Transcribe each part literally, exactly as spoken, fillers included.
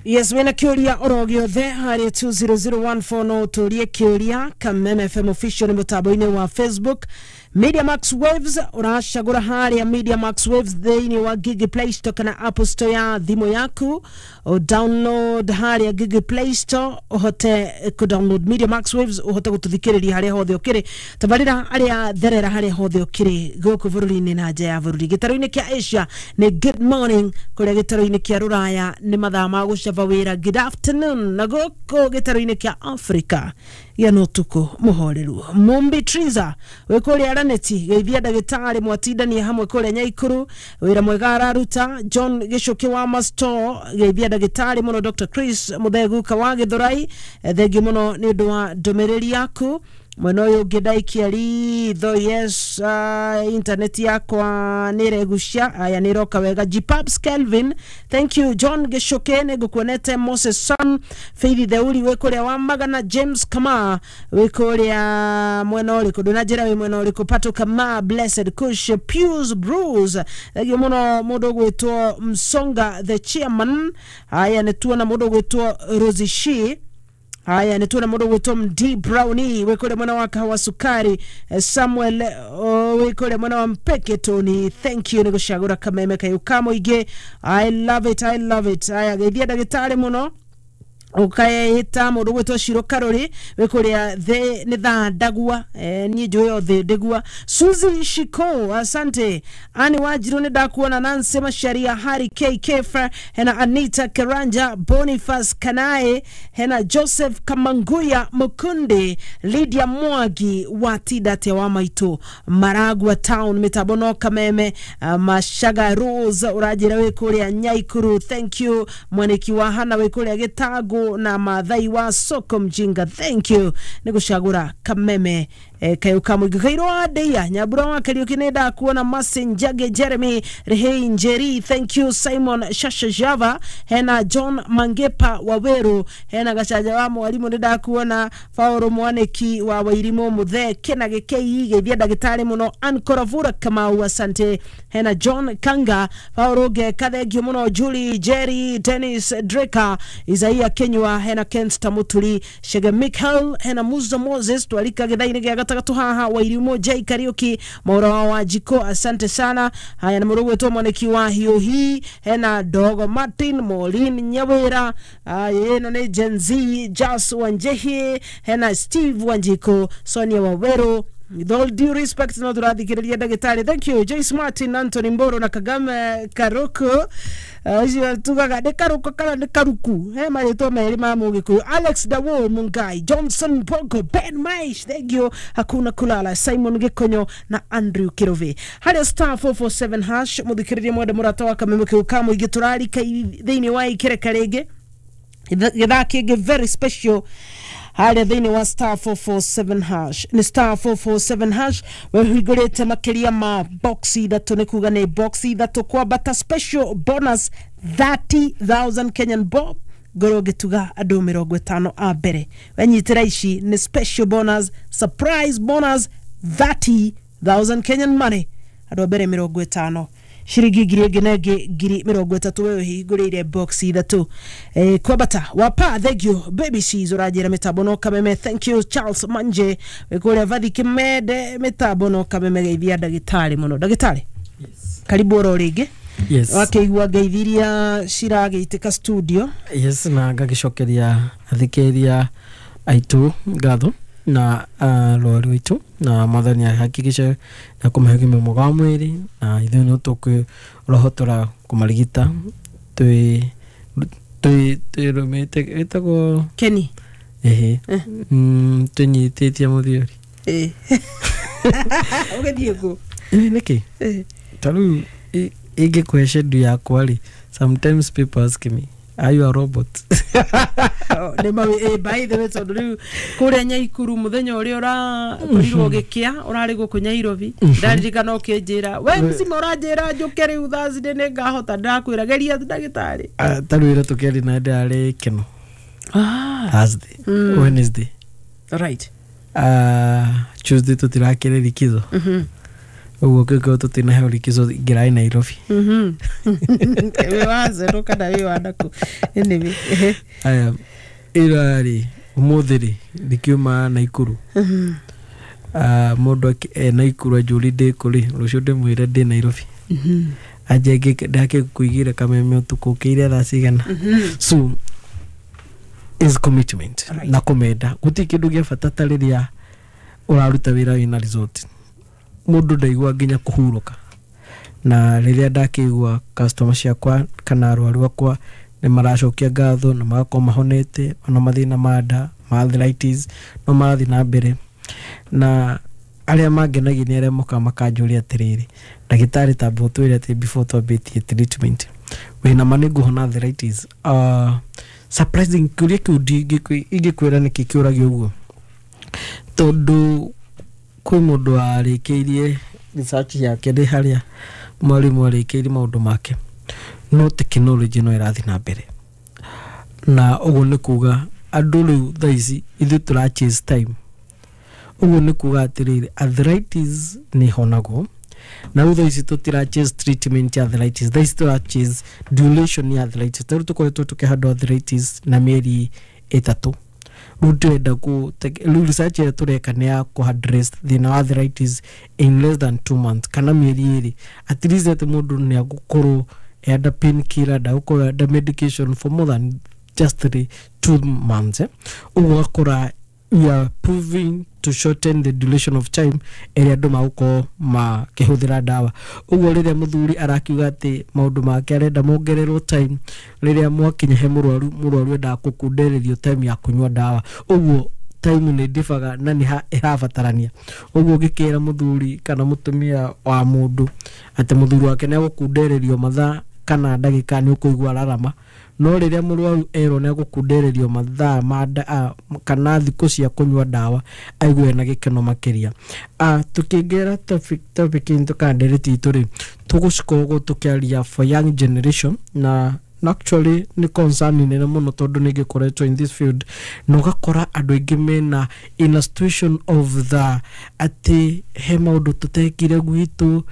Yes, wena kiuria oro giothe hari two zero zero one four no turie kiuria Kameme F M official mutambo-ini wa Facebook. Media Max Waves uracagura haria Media Max Waves thiini wa Google Play Store kana Apple Store ya thimu yaku, o download haria Google Play Store uhote ku download Media Max Waves uhote gututhikiriria haria hothe ukiri tabarira aria therera haria hothe ukiri guku bururi-ini na nja ya bururi. Gitaru-ini kia Asia ni good morning, kuria gitaru-ini kia Ruraya ni mathaa ma gucaba wira good afternoon, na guku gitaru-ini kia Africa ya no tuko muhoreru. Mumbi Triza we kuria Raneti geithia ndagitari mwatindanie hamwe kuria Nyaikuru wira mwega araruta. John Gicuki wa Masto geithia ndagitari muno. Doctor Chris Mutheguka wa Githurai thengi muno ni undu wa ndumiriri yaku. Mwena uyu ungi ndaikia ritho. Yes, uh, internet yakwa niregucia aya niroka wega. Gpaps Kelvin, thank you. John Gicuki nigukuonete. Moses Son Faith Theuri we kuria wa Magana. James Kama we kuria mwena uriku ndunanjira wi mwena uriku. Pato Kama Blessed Kush Pius Bruce thengi muno. Mundu gwitwo Msonga the chairman, aya nituona mundu gwitwo Rosishi. Haya nituona mundu gwitwo D Brownie we kuria mwena wa kahawa sukari. Samuel we kuria mwena wa Mpeke Tony, thank you nigucagura Kameme kayu kamuingi. I love it, I love it. Haya geithia ndagitari muno ukaita mundu gwitwo Shiro Karori we kuria the ni thandagua eh, ni njui othe ndigua. Suzy Shiko asante. Ani Wanjiru ni ndakuona. Nancy Masharia Hari K Kefa hena Anita Karanja Boniface Kanae hena Joseph Kamanguya Mukundi Lydia Mwagi watida te wa maitu Maragua Town mitabono Kameme uh, Mashaga Rose urajira we kuria Nyaikuru, thank you. Mwaniki wa Hana we kuria Gitago na Mathai wa Soko Mjinga, thank you nigucagura Kameme eh, kayo kamwingi. Kairo wa Ndeia Nyambura wa Kariuki ni ndakuona. Masinjage Jeremy Rehei Njeri, thank you. Simon Shasha Java hena John Mangepa Waweru hena Gacanja wa Mwarimu ni ndakuona. Fauro Mwaniki wa Wairimu Muthe Kena Gikei geithia ndagitari muno. Ankoravura Kamau asante. Hena John Kanga Fauro Geka thengio muno. Julie Jerry Dennis Dreka Isaia Kenywa hena Kensta Muturi Shege Michael hena Musa Moses twarika githaini gia gatagatu haha. Wairimu J Kariuki Maura wa Wanjiko asante sana. Haya na murugu wetu Mwaniki wa Hiuhi hena Dogo Martin Maureen Nyawira eno ni Gen Z Jas Wanjehi hena Steve Wanjiko Sonia Waweru. With all due respect no turathikiriria ndagitari, thank you. Joyce Martin Anthony Mboro na Kagame Karuku ucio tugaga ni Karuku kana ni Karuku he maritwa meri ma Mugikuyu. Alex Dawo Mungai Johnson Bogo Ben Maish, thank you. Hakuna kulala Simon Gikonyo na Andrew Kirove haria star four four seven hash muthikiriria mwende murata wa Kameme kiu kamuingi turarika thiini wa ikireka ringi githaa kingi very special haria thiini wa star four four seven hash ni star four four seven hash wehingurite makiria ma box ithatu ni kuga ni box ithatu kwambata special bonus thirty thousand Kenyan bob ngorwo ngituga andu mirongo itano a mbere wenyitira ici ni special bonus surprise bonus thirty thousand Kenyan money andu a mbere mirongo itano shiringi ngiri ĩngĩ na ĩngĩ ngiri mĩrongo ĩtatũ we ũhingũrĩire box ithatũ eh, kwambata wapa thank you baby she's ũranjĩra mĩtambo no Kameme, thank you. Charles Manje wĩ kũrĩa Vathi Kimende mĩtambo no Kameme geithia ndagĩtarĩ mũno. Ndagĩtarĩ, yes, karibu oro rĩngĩ. Yes, wakĩigua ngeithi iria ciragĩitĩka studio. Yes, na ngagĩcokeria athikĩrĩria aitũ ngatho na uh, rwari rwitu na mwathani ahakikishe na kũmahe ũgima mwega wa mwĩrĩ na ithuĩ no tũkwĩrohotora kũmarigita twĩ twĩ twĩrũmĩte ĩtagwo Kenny ĩhĩ mm, twĩnyitĩtie mũthiori ĩ ũgĩthiĩ kũ ĩ nĩkĩ ta rĩu ingĩkũhe schedule yakwa rĩ, sometimes people ask me, are you a robot? Nĩ mawe eh, by the way tondu riu kuria Nyaikuru muthenya uria urakorirwo gikia urari guku Nyairobi ndaririkana ukinjira we mzima uranjira njuke riu Thursday ni ngahota ndakwira geria ndagitari ta riu ira tukiari na ndari keno ah Thursday mm. Wednesday right uh, Tuesday tutirakire likizo mhm Ũguo kĩngĩkorwo tũtinaheo likizo ingĩraĩ Nairobi. Mhm. Wĩ wa zero kana wĩ wa naku? Anyway, ehe. Aya, ira rĩ, ũmũthĩ rĩ, ndikiuma Naikuru. Mhm. Ah, mũndũ akĩ- e Naikuru anjũri ndĩ kũ rĩ, rũciũ ndĩmwĩre ndĩ Nairobi. Mhm. Anje ndakĩkũigĩre kameme ũtukũ ũkĩire thaa cigana. Mhm. So is commitment. Right. Na kũmenda. Gũtirĩ kĩndũ gĩa bata ta rĩrĩa ũraruta wĩra wĩna result, mũndũ ndaigua nginya kũhurũka. Na rĩrĩa ndakĩigua customer ciakwa kana arwaru akwa nĩ maracokia ngatho na magakorwo mahonete ona mathĩna ma nda, ma arthritis, no marathiĩ na mbere. Na arĩa mangenagia nĩ arĩa mokaga makanjũria atĩrĩrĩ, "Ndagĩtarĩ, tamba ũtwĩre atĩ before twambĩtie treatment, wĩna ma nĩ ngũhona arthritis?" uh, surprising kĩũria kĩu ndingĩkwĩ- ingĩkwĩra nĩkĩ kĩũragio ũguo, tondũ kwĩ mũndũ warĩkĩirie research yake ndĩ harĩa mwarimũ arĩkĩirie maũndũ make, no technology no ĩrathiĩ na mbere, na ũguo nĩ kuga andũ rĩu thaa ici ithuĩ tũra chase time. Ũguo nĩ kuga atĩrĩrĩ, arthritis nĩ ĩhonagwo, na rĩu thaa ici tũtira chase treatment ya arthritis, thaa ici tũra chase duration ya arthritis. Ta rĩu tũkoretwo tũkĩhandwo arthritis na mĩeri ĩtatũ, rĩu ndĩrenda kũ rĩu research ĩrĩa tũreka nĩ ya kũ address thĩna wa arthritis in less than two months kana mĩeri ĩrĩ, at least atĩ mũndũ nĩ agũkorwo under painkiller, ndagũkorwo under medication for more than just three two months, eh? Ũguo ũgakora we are proving to shorten the duration of time ĩrĩa andũ magũkorwo makĩhũthĩra ndawa. Ũguo rĩrĩa mũthuri arakiuga atĩ maũndũ make arenda mongererwo time, rĩrĩa mwakinya he mũrwaru, mũrwaru endaga kũkundererio time ya kũnyua ndawa. Ũguo time nĩ ndĩbaga na nĩ ĩrabatarania. Ũguo ũngĩkĩra mũthuri kana mũtumia wa mũndũ atĩ mũthuri wake nĩ egũkundererio mathaa kana ndagĩka, nĩ ũkũigua ararama. No rĩrĩa mũrwaru erwo nĩ egũkundererio mathaa ma nda, a, kana thikũ cia kũnyua ndawa, aigue na gĩkeno makĩria. Ah, tukĩingĩra topic topic itũ kana ndereti itũ rĩ, tũgũcikorwo tũkĩaria for young generation, na na actually nĩ concern nene mũno, tondũ nĩ ngĩkoretwo in this field na ũgakora andũ aingĩ mena in a situation of the atĩ he maũndũ tũtekire gwitũ.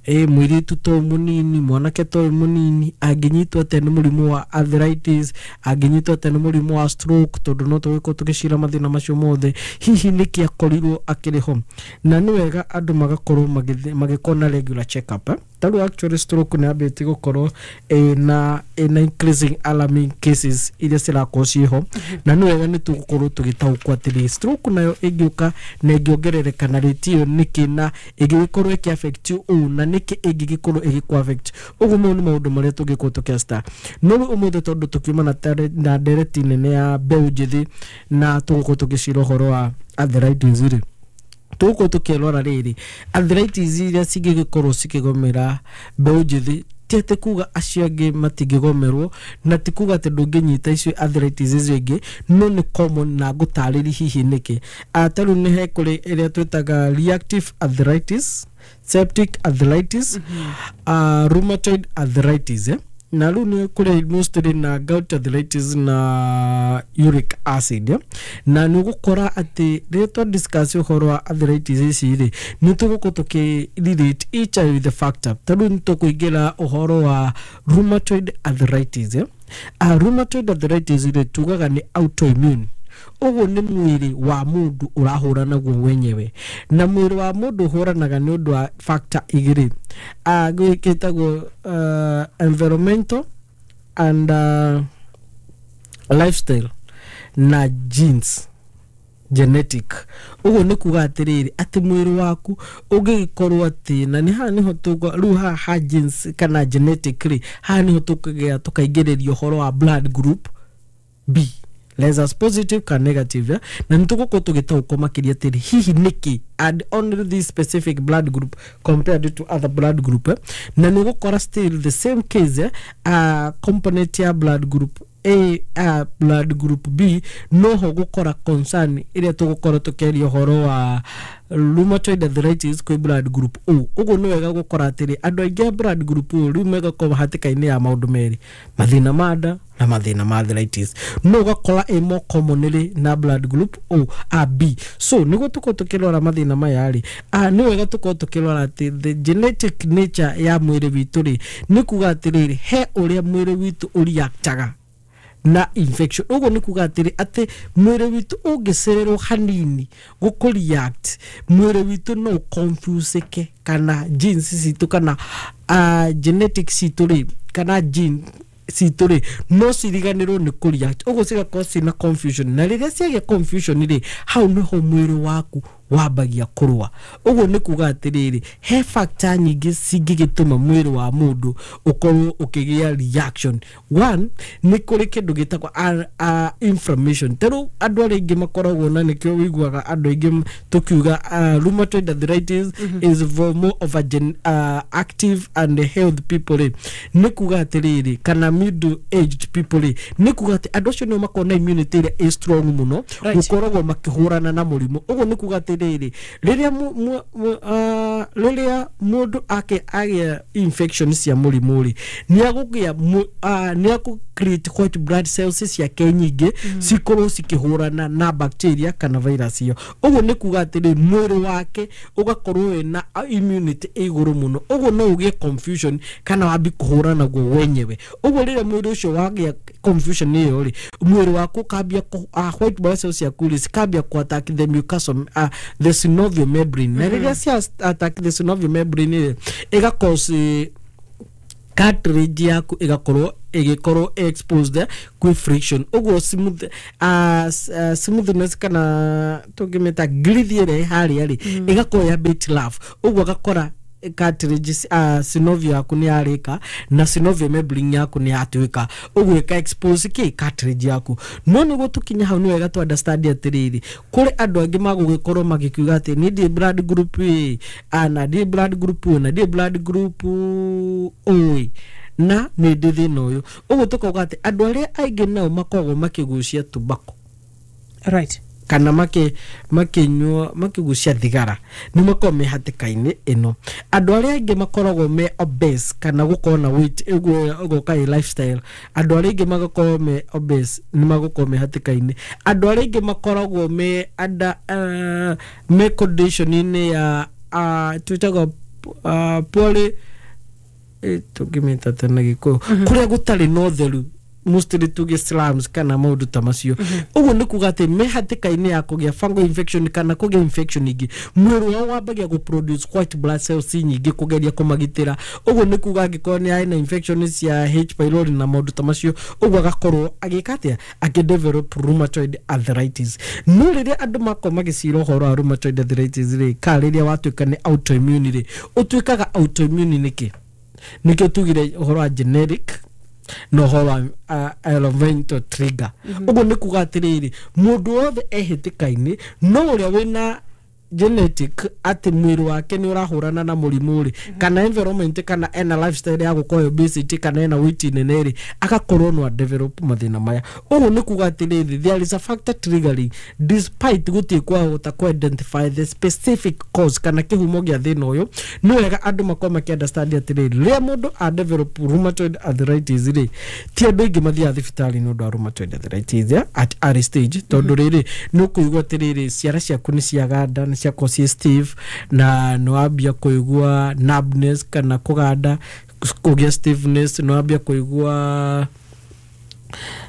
Ĩ mũirĩtu to mũnini, mwanake to mũnini, angĩnyitwo atĩa nĩ mũrimũ wa arthritis? Angĩnyitwo atĩa nĩ mũrimũ wa stroke? Tondũ no tũgĩkorwo tũgĩcira mathĩna macio mothe, hihi nĩkĩ akorirwo akĩrĩ ho? Na nĩ wega andũ magakorwo magĩthi- magĩkorwo na regular check up, eh? Ta rĩu actually stroke nĩ yambĩtie gũkorwo ĩna ĩna increasing alarming cases iria cirakorwo ciĩho, na nĩ wega nĩ tũgũkorwo tũgĩtaũkwo atĩrĩ, stroke nayo ĩngĩũka na ĩngĩongerereka na rate ĩyo nĩkĩ, na ĩngĩgĩkorwo ĩkĩ affect ũũ, na nĩkĩ ĩngĩgĩkorwo ĩgĩkũ affect ũguo. Mau nĩ maũndũ marĩa tũngĩkorwo tũkĩasta. No rĩu ũmũthĩ, tondũ tũkiuma na tare- na ndereti nene ya mbeũ njĩthĩ na tũgũkorwo tũgĩcira ũhoro wa arthritis rĩ, tũgũkorwo tũkĩrora rĩrĩ, arthritis iria cingĩgĩkorwo cikĩgomera mbeũ njĩthĩ. Ti atĩ kuga acio angĩ matingĩgomerwo, na ti kuga atĩ ndũngĩnyita icio arthritis icio ingĩ, no nĩ common na ngũtarĩri hihi nĩkĩ. Ah, ta rĩu nĩ he kũrĩ ĩrĩa twĩtaga reactive arthritis, septic arthritis, uh, rheumatoid arthritis, eh? Na rĩu nĩ kũrĩ mostly na gout arthritis na uric acid, eh? Na nĩ ũgũkora atĩ rĩrĩa twa discuss ũhoro wa arthritis ici rĩ, nĩ tũgũkorwo tũkĩ relate each with the factor. Ta rĩu nĩ tũkũingĩra ũhoro wa rheumatoid arthritis, eh? uh, rheumatoid arthritis rĩ, tugaga nĩ autoimmune. Ũguo nĩ mwĩrĩ wa mũndũ ũrahũra naguo wenyewe, na mwĩrĩ wa mũndũ ũhũranaga nĩ ũndũ wa factor igĩrĩ, uh, gĩtagwo uh, environmental and uh, lifestyle na genes, genetic. Ũguo nĩ kuga atĩrĩrĩ, atĩ mwĩrĩ waku ũngĩgĩkorwo atĩ, na nĩ haha nĩho tũgwa rĩu, haha ha genes kana genetic rĩ, haha nĩho tũkũgĩa tũkaingĩrĩria ũhoro wa blood group B, rhesus positive kana negative, eh? Na nĩ tũgũkorwo tũgĩtaũkwo makĩria atĩrĩ, hihi nĩkĩ and only this specific blood group compared to other blood group, eh? Na nĩ ũgũkora still the same case, eh? uh, component ya blood group A uh, blood group B noho gukora concern iria tugukorwo tukiaria uhoro wa rheumatoid arthritis kwi blood group O. Uguo ni wega gukora atiri andu aingi a blood group O riu megakorwo hatĩka-inĩ ya maundu meri, mathina ma nda na mathina ma arthritis, no ugakora ĩ more commonly na blood group O a B. So niguo tukorwo tukirora mathina maya ri, a ni wega tukorwo tukirora ati the genetic nature ya mwĩrĩ witũ ri ni kuga atiriri he uria mwĩrĩ witũ ũreactaga na infection. Uguo ni kuga atiri ati mwĩrĩ witũ ũngĩcererwo hanini gũkũ react, mwĩrĩ witũ no confuseke kana genes citũ kana uh, genetics citũ rĩ kana gene citũ rĩ no ciriganĩrwo nĩ kũ react, ũguo cigakorwo ciĩna confusion, na rĩrĩa ciagĩa confusion rĩ hau nĩho mwĩrĩ waku wambagia kũrũa. Ũguo nĩ kuga atĩrĩrĩ he factor nyingĩ cingĩgĩtũma mwĩrĩ wa mũndũ ũkorwo ũkĩgĩa reaction. One, nĩ kũrĩ kĩndũ gĩtagwo uh, inflammation. Ta rĩu andũ arĩa aingĩ makoragwo na nĩkĩo wĩiguaga andũ aingĩ tũkiuga uh, rheumatoid arthritis mm -hmm. is for more of a gen, uh, active and healthy people rĩ, nĩ kuga atĩrĩrĩ kana middle aged people rĩ, nĩ kuga atĩ andũ acio nĩo makoragwo na immunity ĩrĩa ĩ strong mũno gũkoragwo makĩhũrana na mũrimũ. Ũguo nĩ kuga atĩ rĩrĩ rĩrĩa rĩrĩa mũndũ ake agĩa infection cia mũrimũ rĩ nĩ agũgĩa nĩ akũ create white blood cells ciake nyingĩ cikorwo cikĩhũrana na bacteria kana virus ĩyo. Ũguo nĩ kuga atĩrĩ mwĩrĩ wake ũgakorwo wĩna immunity ĩ igũrũ mũno, ũguo no ũgĩe confusion kana wambi kũhũrana naguo wenyewe. Ũguo rĩrĩa mwĩrĩ ũcio wagĩa confusion ĩyo rĩ mwĩrĩ waku ũkambia white blood cells ciaku rĩ cikambia kũ attack the mucosal uh, the synovial membrane, na rĩrĩa cia attack the synovial membrane rĩ ĩga cause cartilage yaku ĩgakorwo ĩgĩkorwo exposed kwĩ friction. Ũguo smooth uh, uh, smoothness kana tũngĩmĩta girthi ĩrĩa ĩ harĩa rĩ ĩgakorwo ya bit rough, ũguo agakora cartilage uh, synovial yaku nĩ yarĩka na synovial membrane yaku nĩ yatuĩka, ũguo ĩka expose kĩ cartilage yaku. No nĩguo tũkinye hau nĩ wega tu understand atĩrĩrĩ kũrĩ andũ angĩ magũgĩkorwo magĩkiuga atĩ niĩ ndirĩ blood group A na ndirĩ blood group O na ndirĩ blood group O na nĩ ndĩ thĩna ũyũ. Ũguo tũkauga atĩ andũ arĩa aingĩ nao makoragwo makĩgucia tobacco, right, kana make makinyua makigucia thigara nĩ makoragwo me hatĩka-inĩ ĩno. Andũ arĩa aingĩ makoragwo me obese kana gũkorwo na weight ũguo ũgoka ĩ lifestyle, andũ arĩa aingĩ magakorwo me obese nĩ magũkorwo me hatĩka-inĩ. Andũ arĩa aingĩ makoragwo me under uh, me condition-inĩ ya uh, twĩtagwo uh, poly tũngĩmĩta tena Gĩkũyũ kũrĩa gũtarĩ na ũtheru mostly tuge slums kana maũndũ ta macio. Ũguo nĩ kuga atĩ me hatĩka-inĩ ya kũgĩa fungal infection kana kũgĩa infection ingĩ, mwĩrĩ wao wambagia gũ produce white blood cells nyingĩ kũgeria kũmagitĩra. Ũguo nĩ kuga angĩkorwo nĩ arĩ na infection cia H pylori na maũndũ ta macio, ũguo agakorwo agĩka atĩa akĩ develop rheumatoid arthritis. No rĩrĩa andũ makorwo magĩcira ũhoro wa rheumatoid arthritis rĩ, ka rĩrĩa watuĩka nĩ autoimmune rĩ, ũtuĩkaga autoimmune nĩkĩ? Nĩkĩo tugire ũhoro wa genetic na ũhoro wa uh, environmental trigger. Ũguo nĩ kuga atĩrĩrĩ mũndũ wothe e hatĩka-inĩ no ũrĩa wĩna genetic atĩ mwĩrĩ wake nĩ ũrahũrana na mũrimũ rĩ kana environment kana ena lifestyle ya gũkorwo obesity kana ena weight nene rĩ agakorwo no develop mathĩna maya. Ũguo nĩ kuga atĩrĩrĩ there is a factor triggering despite gũtirĩ kwahota kũ identify the specific cause kana kĩhumo gĩa thĩna ũyũ. Nĩ wega andũ makorwo makĩ understand atĩrĩrĩ rĩrĩa mũndũ a develop rheumatoid arthritis rĩ ti andũ aingĩ mathiaga thibitarĩ nĩ ũndũ wa rheumatoid arthritis ya at early stage, tondũ rĩrĩ nĩ ũkũigua atĩrĩrĩ ciara ciaku nĩ ciaganda nĩ ciakorwo ciĩ stiff na nĩ wambia kũigua numbness kana kũganda kũgĩa stiffness, nĩ wambia kũigua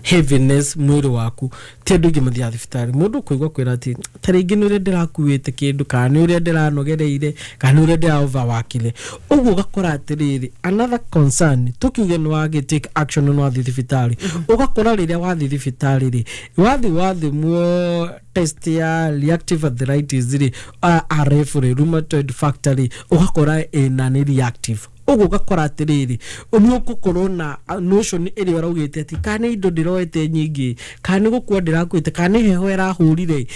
heaviness mwĩrĩ waku. Ti andũ aingĩ mathiaga thibitarĩ, mũndũ ũkũigua kwĩra atĩ ta rĩngĩ nĩ ũrĩa ndĩrakuĩte kĩndũ kana nĩ ũrĩa ndĩranogereire kana nĩ ũrĩa ndĩra overworkire. Ũguo ũgakora atĩrĩrĩ another concern tũkiuge nĩ wagĩ take action nĩ wathiĩ thibitarĩ, ũgakora rĩrĩa wathiĩ thibitarĩ rĩ wathiĩ wathimwo test ya reactive arthritis rĩ uh, R F rĩ rheumatoid factor rĩ ũgakora ĩna nĩ reactive. Ũguo ũgakora atĩrĩrĩ nĩ ũgũkorwo na notion ĩrĩa ũraugĩte atĩ kana nĩ indo ndĩroete nyingĩ kana nĩ gũkua ndĩrakuĩte kana nĩ heho ĩrahũrire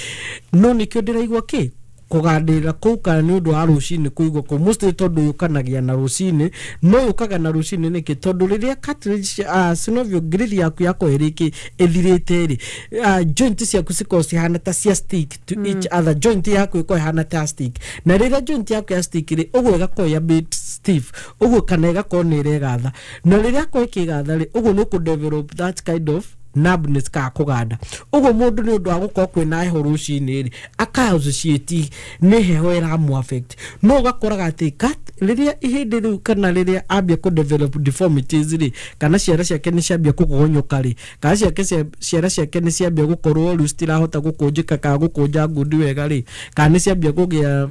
no nĩkĩo ndĩraigua kĩ Kũgandĩrĩra kũu kana nĩ ũndũ wa rũcinĩ kũigua kũu mostly, tondũ yũkanagia na rũcinĩ. No yũkaga na rũcinĩ nĩkĩ? Tondũ rĩrĩa cartilage, uh, synovial growth yaku yakorwo ĩrĩkĩ ĩthirĩte rĩ, uh, joint ciaku cikorwo cihana ta cia stick to mm. each other. Joint yaku ĩkorwo ĩhana ta stick, na rĩrĩa joint yaku ya stick rĩ, ũguo ĩgakorwo ya bit stiff ũguo, kana ĩgakorwo nĩ ĩregatha. Na rĩrĩa akorwo ĩkĩgatha rĩ, ũguo nĩ ũkũ develop that kind of numbness kana kũganda ũguo. Mũndũ nĩ ũndũ wa gũkorwo kwĩna heho rũcinĩ rĩ, aka associate nĩ heho ĩramũ affect. No ũgakoraga atĩ kat- rĩrĩa ihĩndĩ rĩu kana rĩrĩa ambia kũ develop deformities rĩ, kana ciara ciake nĩ ciambia kũgonyoka rĩ, kana ciake cia- ciara ciake nĩ ciambia gũkorwo rĩu citirahota gũkũnjĩka kana gũkũnja ngundi wega rĩ, kana nĩ ciambia kũgĩa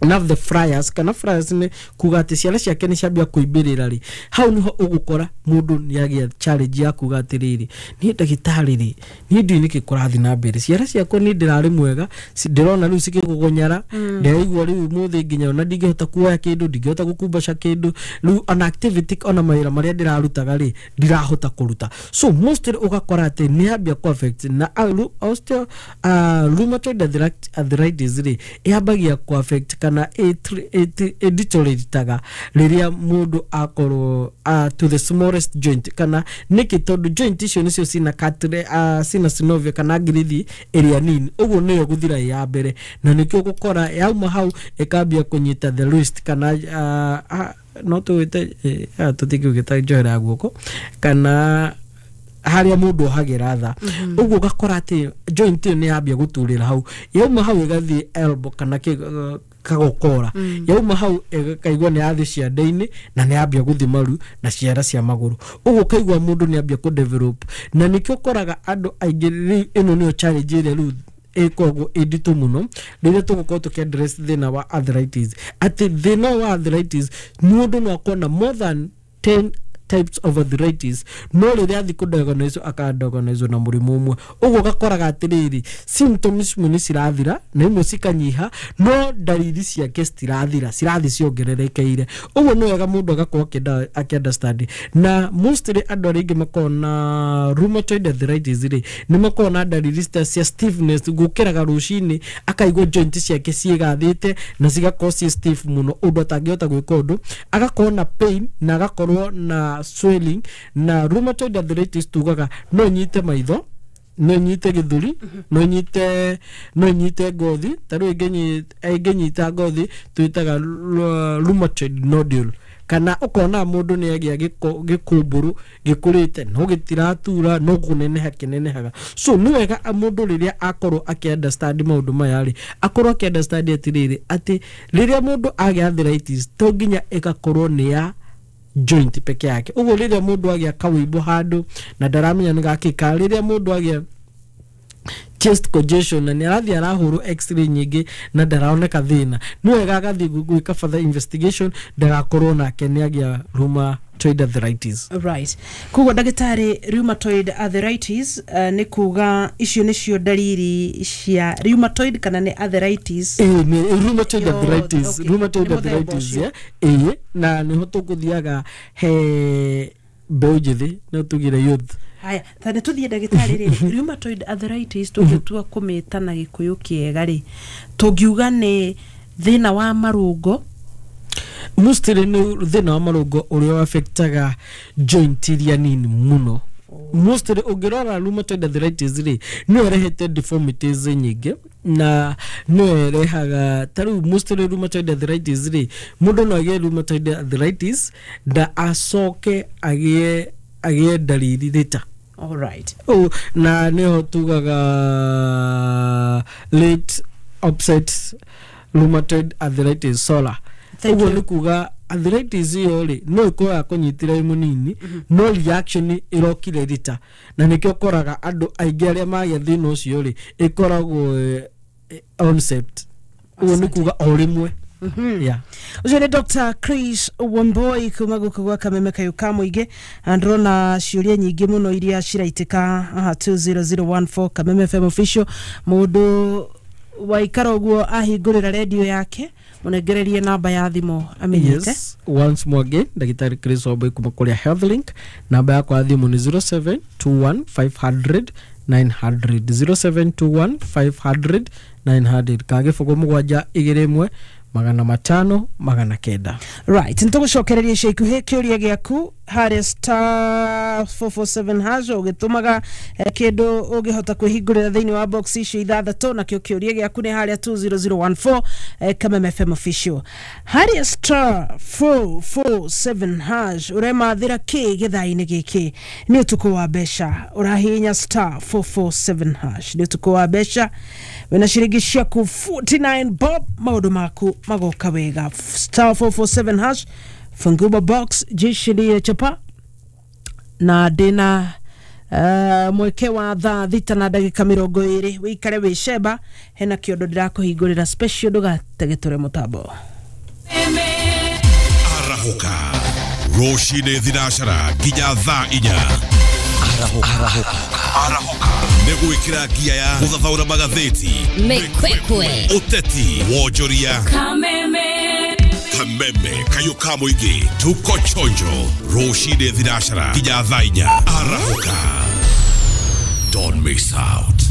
na the flyers, kana flyers nĩ kuga atĩ ciana ciake nĩ ciambia kũimbĩrĩra rĩ, hau nĩho ũgũkora mũndũ nĩ agĩa challenge ya kuga atĩrĩrĩ, "Niĩ ndagĩtarĩ rĩ, niĩ ndiũĩ nĩkĩ kũrathiĩ na mbere. Ciana ciakwa niĩ ndĩrarĩ mwega, ci- ndĩrona rĩu cikĩgũgũnyara. Ndĩraigua rĩu mũthĩ nginya ona ndingĩhota kuoya kĩndũ, ndingĩhota gũkumbaca kĩndũ rĩu, ona activity, ona mawĩra marĩa ndĩrarutaga rĩ, ndirahota kũruta." So mostly ũgakora atĩ nĩ yambia kũ affect na uh, ru- osteo uh, rheumatoid arthritis- arthritis rĩ, yambagia kũ affect kana ĩdeteriorataga rĩrĩa mũndũ akorwo uh, to the smallest joint. Kana nĩkĩ? Tondũ joint icio nĩcio cina cartilage, uh, cina synovia kana ngirithi ĩrĩa nini, ũguo nĩyo gũthira ĩ ya mbere. Na nĩkĩo gũkora yauma hau ĩkambia kũnyita the wrist kana uh, uh, no tũwĩte eh, tũtingĩũgĩta njohera ya guoko kana harĩa mũndũ ohagĩra tha. Ũguo ũgakora atĩ joint ĩyo nĩ yambia gũturĩra hau, yauma hau ĩgathiĩ elbow kana kĩ- kagokora, yauma hau ĩkaigua nĩ yathi ciande-inĩ na nĩ yambia gũthi maru na ciara cia magũrũ. Ũguo ũkaigua mũndũ nĩ ambia kũ develop, na nĩkĩo ũkoraga andũ aingĩ rĩu ĩno nĩyo challenge ĩrĩa rĩu ĩkoragwo ĩ nditũ mũno rĩrĩa tũgũkorwo tũkĩ address thĩna wa arthritis, atĩ thĩna wa arthritis mũndũ no akorwo na more than ten types of arthritis, no rĩrĩa athiĩ kũdiagnose akadiagnose na mũrimũ ũmwe. Ũguo ũgakoraga atĩrĩrĩ, symptoms imwe nĩ cirathira na imwe cikanyiha, no ndariri ciake citirathira, cirathiĩ ciongererekeire. Ũguo nĩ wega mũndũ agakorwo akĩenda- akĩ-understand. Na mostly andũ arĩa aingĩ makoragwo na rheumatoid arthritis rĩ, nĩ makoragwo na ndariri cia cia stiffness, gũkĩraga rũcinĩ akaigua joint ciake ciĩgathĩte na cigakorwo ciĩ stiff mũno ũndũ atangĩhota gwĩka ũndũ, agakorwo na pain na agakorwo na swelling. Na rheumatoid arthritis tugaga no ĩnyite maitho, no ĩnyite gĩthũri, no ĩnyite no ĩnyite ngothi. Ta rĩu ĩngĩnyi- ĩngĩnyita ngothi twĩtaga ru- rheumatoid nodule, kana ũkona mũndũ nĩ agĩa gĩko- gĩkũmbũrũ gĩkũrĩte no gĩtiratura, no kũneneha kĩnenehaga. So nĩ wega mũndũ rĩrĩa akorwo akĩ understand maũndũ maya rĩ, akorwo akĩ understand atĩrĩrĩ, atĩ rĩrĩa mũndũ agĩa arthritis to nginya ĩgakorwo nĩ ya joint peke yake. Ũguo rĩrĩa mũndũ agĩa kawĩimbo handũ na ndaramenya nĩ gakĩ, kana rĩrĩa mũndũ agĩa chest congestion na nĩ arathiĩ arahũrwo X-ray nyingĩ na ndaraoneka thĩna, nĩ wega agathiĩ gwĩka further investigation ndagakorwo nake nĩ agĩa rheumatoid arthritis. Right, koguo ndagĩtarĩ, rheumatoid arthritis uh, nĩ kuga icio nĩcio ndariri cia rheumatoid kana nĩ arthritis? Ĩĩ, nĩ rheumatoid Yothe, arthritis. okay. Rheumatoid Nĩ mũthemba arthritis. ũcio. Yeah. Ĩĩ, na nĩho tũkũthiaga he mbeũ njĩthĩ, no tugire youth. Haya, ta nĩ tũthiĩ ndagĩtarĩ rĩrĩ, rheumatoid arthritis tũngĩtua kũmĩta na Gĩkũyũ kĩega rĩ, tũngiuga nĩ thĩna wa marũngo? Mostly nĩ thĩna wa marũngo ũrĩa affectaga joint iria nini mũno. Mostly ũngĩrora rheumatoid arthritis rĩ, nĩyo ĩrehete deformities nyingĩ na nĩyo ĩrehaga ta rĩu mostly rheumatoid arthritis rĩ, mũndũ no agĩe rheumatoid arthritis na acoke agĩe agĩe ndariri rĩta. Alright. Oh, na nĩho tugaga late onset rheumatoid arthritis, SORA. Thank Ũguo you. nĩ kuga arthritis ĩyo rĩ, no ĩkorwo yakũnyitire ĩ mũnini, no reaction ĩrokire rita, na nĩkĩo ũkoraga andũ aingĩ arĩa magĩa thĩna ũcio rĩ, ĩkoragwo eh, eh, onset, ũguo nĩ kuga o rĩmwe. Yeah. Ũcio nĩ Doctor Chris Wamboi kuma gũkũ gwa Kameme kayũ ka mũingĩ, na ndĩrona ciũria nyingĩ mũno iria ciraitĩka haha two zero zero one four, Kameme F M official. Mũndũ waikara ũguo ahingũrĩra redio yake, mũnengererie namba ya thimũ amenyete. Yes, once more again, Ndagĩtarĩ Chris Wambui kuma kũrĩa Health Link. Namba yakwa ya thimũ nĩ zero seven two one five hundred nine hundred, zero seven two one five hundred nine hundred, ka gĩbũgũ mũgwanja igĩrĩ ĩmwe magana matano magana kenda. Right, nitũgũcokereria ica ikuhĩ kĩũria gĩaku harĩa star four four seven hash ũgĩtũmaga eh, kĩndũ ũngĩhota kwĩhingũrĩra thĩinĩ wa box icio ithathatũ. Nakĩo kĩũria gĩaku nĩ harĩa two zero zero one four, eh, Kameme F M official, harĩa star four four seven hash. Ũremathĩra kĩ gĩthaa-inĩ gĩkĩ? Nĩ ũtukũ wa mbeca. Ũrahihinya star four four seven hash, nĩ ũtukũ wa mbeca. Wĩna ciringi ciaku forty-nine bob, maũndũ maku magoka wega. Star four four seven hash, fungua box, jishirie chapa. Na ndĩna uh, mweke wa thaa thita na ndagĩka mĩrongo ĩrĩ wĩikare wĩ cemba. Hena kĩondo ndĩrakũhingũrĩra special, ndũgategetũre mũtambo. Arahũka rũcinĩ thinacara nginya thaa inya. Arahũka nĩ gwĩkĩra ngia ya gũthathaũra magathĩti, Mĩkwekwe, ũteti, wonjoria. Kameme kayũ ka mũingĩ, tuko chonjo rũcinĩ thinacara nginya thaa inya. Arahũka, don't miss out.